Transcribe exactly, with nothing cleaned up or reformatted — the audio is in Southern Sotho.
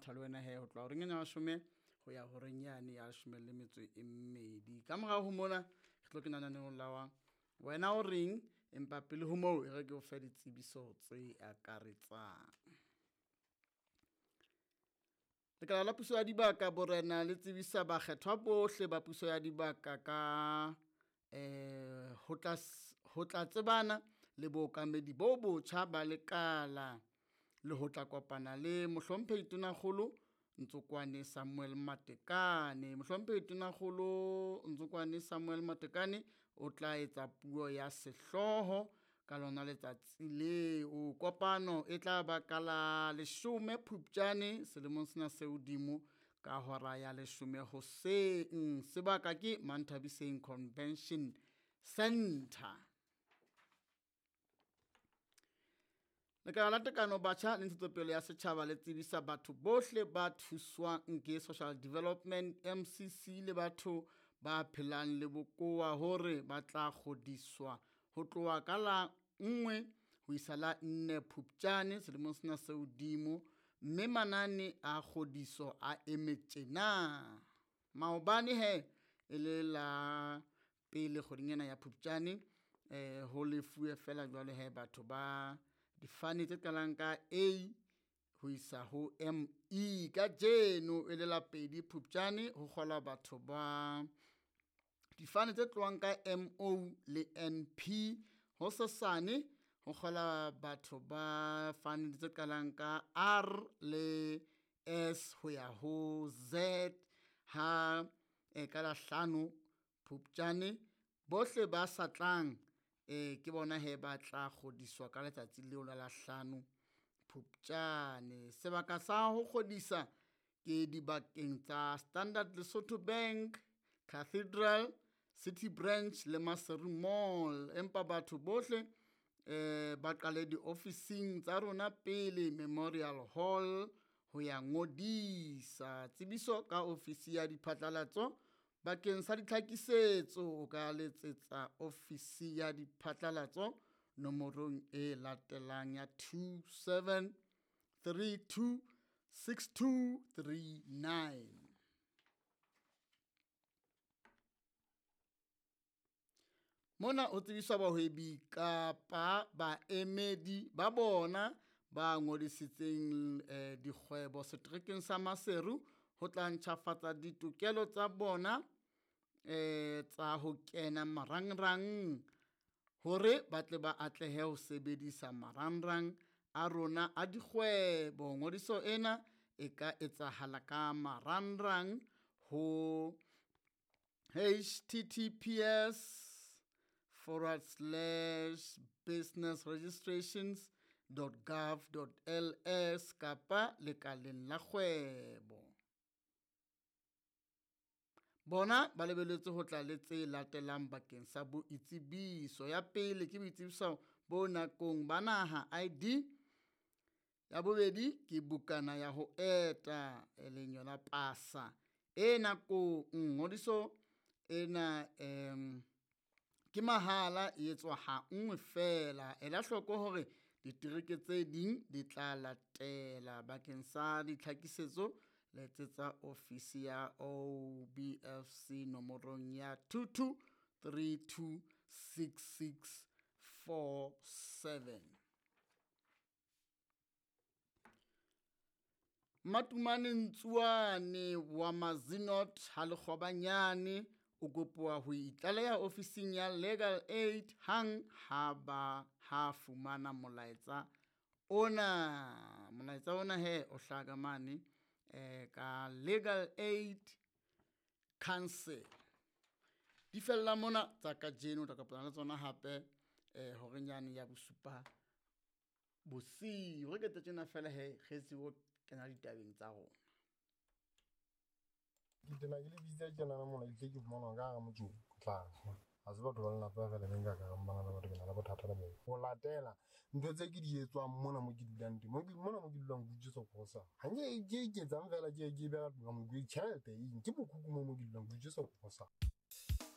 matha le wena he ho tloha horeng ena ya leshome ho ya horeng yane ya leshome le metso e mmedi. Ka morao ho mona re tlo kena lenaneong la wa wena o reng, empa pele ho moo e re ke o fe ditsebiso tse akaretsang. Lekala la puso ya dibaka borena le tsebisa bakgethwa bohle ba puso ya dibaka ka eh ho tla ho tla tsebana le bookamedi bo botjha ba lekala le ho tla kopana le Mohlomphehi Tonakgolo Ntsokoane Samuel Matekane. Mohlomphehi Tonakgolo Ntsokoane Samuel Matekane o tla etsa puo ya sehlooho ka lona letsatsi leo. Kopano e tla ba ka la leshome Phupjane selemong sena se hodimo ka hora ya leshome hoseng. Sebaka ke Manthabiseng Convention Center. Lekala la Tekano Batjha le Ntshetsopele ya Setjhaba le tsebisa batho bohle ba thuswang ke Social Development M C C le batho ba phelang le bokowa hore ba tla kgodiswa ho tloha ka la nngwe ho isa la nne Phupjane selemong sena se hodimo, mme manane a kgodiso a eme tjena. Maobane he e le la pele kgweding ena ya Phupjane, eh ho lefuwe fela jwale he batho ba difane tse qalang ka A ho isa ho M E. Kajeno e le la pedi Phupjane ho kgola batho ba difane tse tlohang ka M O le N P. Hosasane ho kgola batho ba fane tse qalang ka R le S ho ya ho Z. Ha e ka la hlano Phupjane bohle ba sa tlang eh ke bona he ba tla kgodiswa ka letsatsi leo la la hlano Phupjane. Sebaka sa ho kgodisa ke dibakeng tsa Standard Lesotho Bank, Cathedral, City Branch le Maseru Mall. Empa batho bohle eh ba qale diofising tsa rona pele Memorial Hall ho ya ngodisa. Tsebiso ka ofisi ya diphatlalatso bakeng sa ditlhakisetso o ka letsetsa ofisi ya diphatlalatso nomorong e latelang ya two seven three two six two three nine. Mona o tsebiswa bahwebi kapa baemedi ba bona ba ngodisitseng eh, dikgwebo seterekeng sa Maseru ho tla ntjhafatsa ditokelo tsa bona eh tsa ho kena marangrang hore ba tle ba atlehe ho sebedisa marangrang a rona a dikgwebo. Ngodiso ena e ka etsahala ka marangrang ho H T T P S forward slash business registrations dot gov dot L S kapa lekaleng la kgwebo. Bona ba lebelletswe ho tla le tse latelang bakeng sa boitsebiso. Ya pele ke boitsebiso bo nakong ba naha I D. Ya bobedi ke bukana ya ho eta e leng yona pasa e nakong. Ngodiso ena em ke mahala, e etswa ha nngwe fela. Ela hloko hore ditereke tse ding di tla latela. Bakeng sa ditlhakisetso letsetsa ofisi ya O B F C nomorong ya two two three two six six four seven. Matumane Ntsuane wa Mazinot ha Lekgobanyane o kopuwa ho itlaleha ofising ya Legal Aid hang ha ba ha fumana molaetsa ona. Molaetsa ona he o hlaha mane eh ka Legal Aid Council. Di fella mona tsa kajeno, tla kopana le tsona hape eh horeng yane ya bosupa bosiu. Re ke tjena fela he re tsebo kena ditabeng tsa rona. Ke tena ke le bitsa tjena na mona ke ke fumana ka hara motse o tla. Ha se batho ba lelapa fela be nka ka re bana ba batho ke na le bothata le bona. Ho latela ntho tse ke di etswang mona mo ke dulang teng. Mo ke mona mo ke dulang ke utswetsa kosa. Ha nke ke iketsang fela ke ke beha ka mo ke tjhelete eng ke mokhukhu mo mo ke dulang ke utswetsa kosa.